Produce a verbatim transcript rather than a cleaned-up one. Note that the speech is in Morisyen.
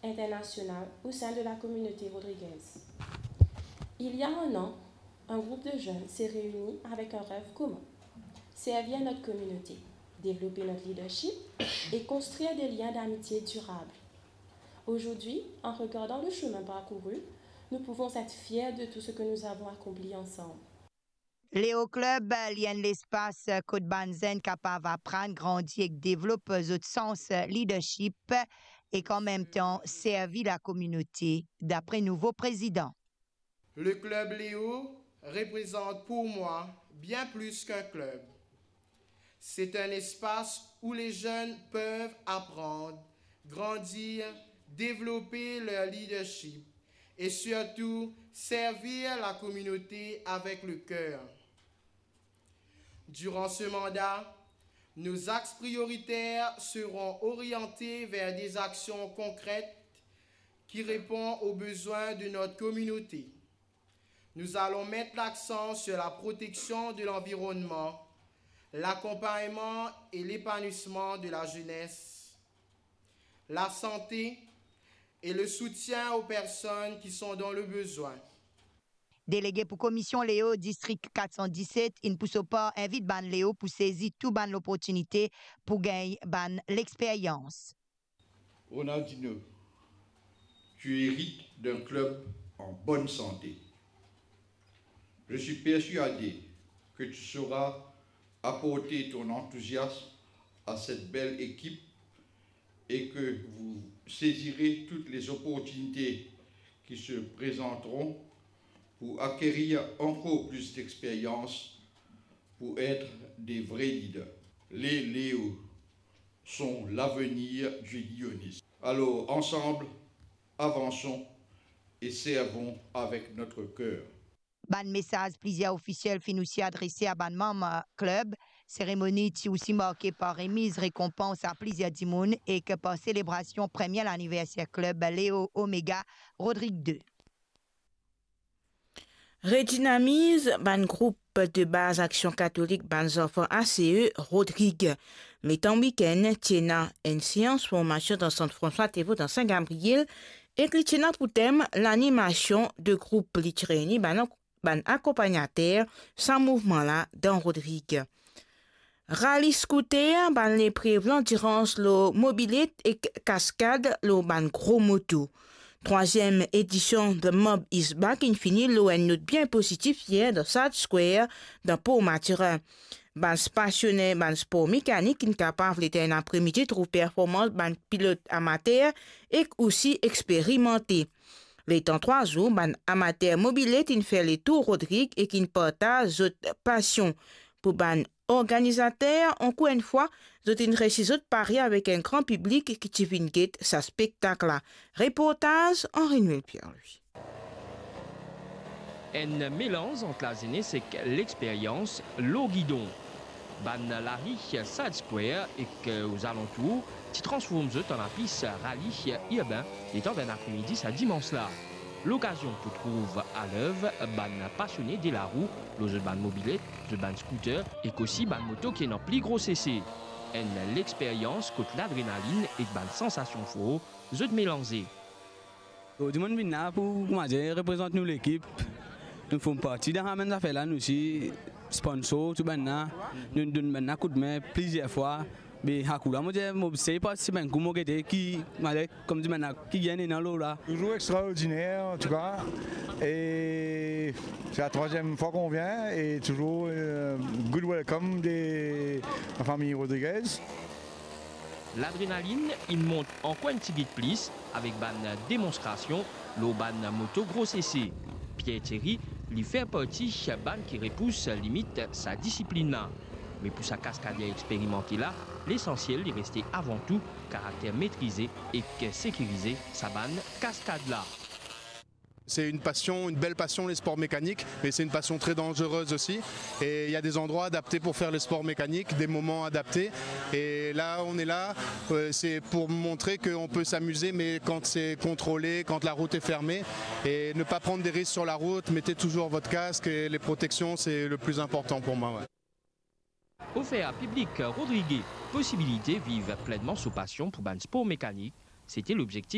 internationale au sein de la communauté rodriguaise. Il y a un an, un groupe de jeunes s'est réuni avec un rêve commun, servir notre communauté, développer notre leadership et construire des liens d'amitié durables. Aujourd'hui, en regardant le chemin parcouru, nous pouvons être fiers de tout ce que nous avons accompli ensemble. Leo Club, li enn lespas kot bann zenn kapav aprann, grandi ek devlop zot sans leadership ek an mem tan servi lakominote, dapre nouvo prezidan. Le club Léo représente pour moi bien plus qu'un club. C'est un espace où les jeunes peuvent apprendre, grandir, développer leur leadership et surtout servir la communauté avec le cœur. Durant ce mandat, nos axes prioritaires seront orientés vers des actions concrètes qui répondent aux besoins de notre communauté. Nous allons mettre l'accent sur la protection de l'environnement, l'accompagnement et l'épanouissement de la jeunesse, la santé et le soutien aux personnes qui sont dans le besoin. Delege pou Komision Leo Distrik kat san diset, inn pou so par invit bann Leo pou sezi tou bann loportinite pou gagn bann lexperyans. Ronaldinho, tu hérites d'un club en bonne santé. Je suis persuadé que tu sauras apporter ton enthousiasme à cette belle équipe et que vous saisirez toutes les opportunités qui se présenteront pour acquérir encore plus d'expérience, pour être des vrais leaders. Les Léo sont l'avenir du Lionis. Alors, ensemble, avançons et servons avec notre cœur. Bann mesaz plizier ofisiel finn osi adrese a bann manm klub. Seremoni ti osi marke par remiz rekonpans a plizier dimoun ek par selebrasion premie laniverser klub Leo Omega Rodrig de. Redinamiz bann group de baz Aksion Katolik bann zanfan A C E Rodrig. Letan wikenn, ti ena enn seans formasion dan Sant Franswa Devo dan Sin Gabriel, ek li ti ena pou tem lanimasion de group. Li ti reyni bann, bann akonpagnater sa mouvman la dan Rodrig. Rali skouter, bann leprev landirans lor mobilet ek kaskad lor bann gro moto. Trwaziem edision The Mob is Back inn fini lor enn not bien pozitif yer dan Sad Square, dan Port Mathurin. Bann pasione bann spor mekanik inn kapav letan enn apremidi trouv performans bann pilot amater ek osi experimante. Letan trwa zour, bann amater mobilet inn fer letour Rodrig ek inn partaz zot pasion. Pou bann organizater, ankor enn fwa, zot inn resi zot pari avek enn gran piblik ki ti vinn get sa spektak la. Reportaz Henri Noël Pierre-Louis. Enn melanz ant lazenes ek lexperyans lor gidon. Bann lari Sad Square ek, euh, ozalantour ti transform zot an lapis rali irben letan bann apremidi sa dimans la. Lokazion pou trouv alev bann pasione de larou lor zot bann mobilet, zot bann scooter ek osi bann moto ki ena pli gro sese. Enn lexperyans kot ladrenalinn ek bann sansasion for zot melanze. Zordi monn vinn la pou, koumadir, reprezant nou lekip. Nou form parti dan sa mem zafer la, nou osi sponsor, tou bann la. Nou donn bann la koudme plizier fwa. Me sa kou la, mo dir, mo sey partisipe enn kou, mo gete ki, malgre, kouma dir, bann la ki gagn ena lor la. Toujours extraordinaire, en tout cas. Et c'est la troisième fois qu'on vient et toujours, euh, good welcome de la famille Rodriguez. Ladrenalinn inn mont ankor enn tigit plis avek bann demonstrasion lor bann moto gro sese. Pierre Thierry, li fer parti bann ki repous limit sa disiplinn la. Me pou sa kaskader experimante la, lesansiel li reste avan tou karakter metrize ek sekirize sa bann kaskad la. C'est une passion, une belle passion, les sports mécaniques, mais c'est une passion très dangereuse aussi. Et il y a des endroits adaptés pour faire le sport mécanique, des moments adaptés. Et là, on est là, euh, c'est pour montrer qu'on peut s'amuser, mais quand c'est contrôlé, quand la route est fermée, et ne pas prendre des risques sur la route, mettez toujours votre casque et les protections, c'est le plus important pour moi, ouais. Ofer a piblik Rodrig posibilite viv plennman so pasion pou bann spor mekanik, se ti lobzektif